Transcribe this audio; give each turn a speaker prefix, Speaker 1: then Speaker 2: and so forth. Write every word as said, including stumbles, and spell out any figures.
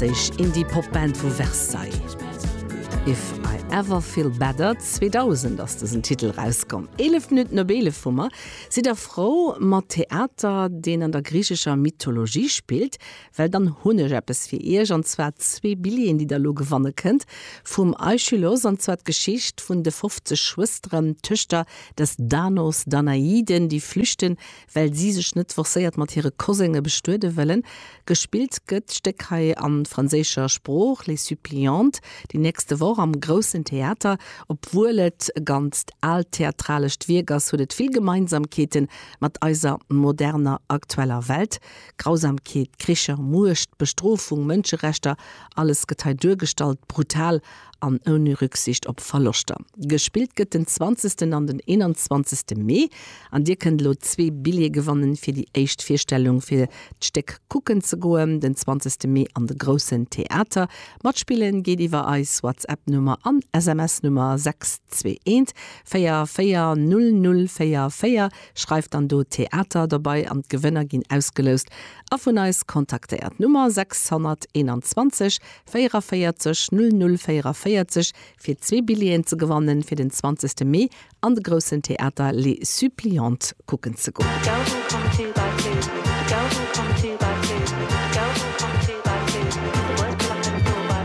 Speaker 1: Franséisch Indie-Pop-Band vu Versailles. If I Ever Feel Better zweedausend ass dësen Titel rauskomm. Eelef Minutten op eelef hu mer. Sidd der frou mat Theater, deen an der griichescher Mythologie spillt? Well dann hunn ech eppes fir iech, an zwar zwee Billjeeën, déi der elo gewanne kënnt, vum Aischylos, an zwar d'Geschicht vun de fofzeg Schwësteren, Töchter des Danaos, Danaiden, déi flüchten, well si sech net forcéiert mat hire Kosenge bestuede wëllen. Gespillt gëtt d'Stéck hei a franséischer Sprooch, Les Suppliantes, déi nächste Woch am Groussen Theater. Obwuel et e ganzt aalt theatralescht Wierk ass, huet et vill Gemeinsamkeete mat eiser moderner, aktueller Welt. Grausamkeet, Kricher, Muecht, Bestrofung, Mënscherechter, alles gëtt hei duergestallt, brutal an ouni Rücksicht op Verloschter. Gespillt gëtt den zwanzegsten an den eenanzwanzegste Mee an dir kënnt elo zwee Billjeeë gewannen fir déi éischt Virstellung fir d'Stéck kucken ze goen, den zwanzegste Mee an de Groussen Theater. Matspillen geet iwwer eis WhatsApp Nummer an S M S Nummer sechs zwee eent véier véier null null véier véier. Schreift dann do Theater dobei an d'Gewënner ginn ausgeloust a vun eis kontaktéiert. Nummer sechshonnerteenanzwanzeg véierevéierzeg null null véierevéierzeg fir zwee Billjeeën ze gewannen fir den zwanzegste Mee an de Groussen Theater Les Suppliantes kucken ze goen.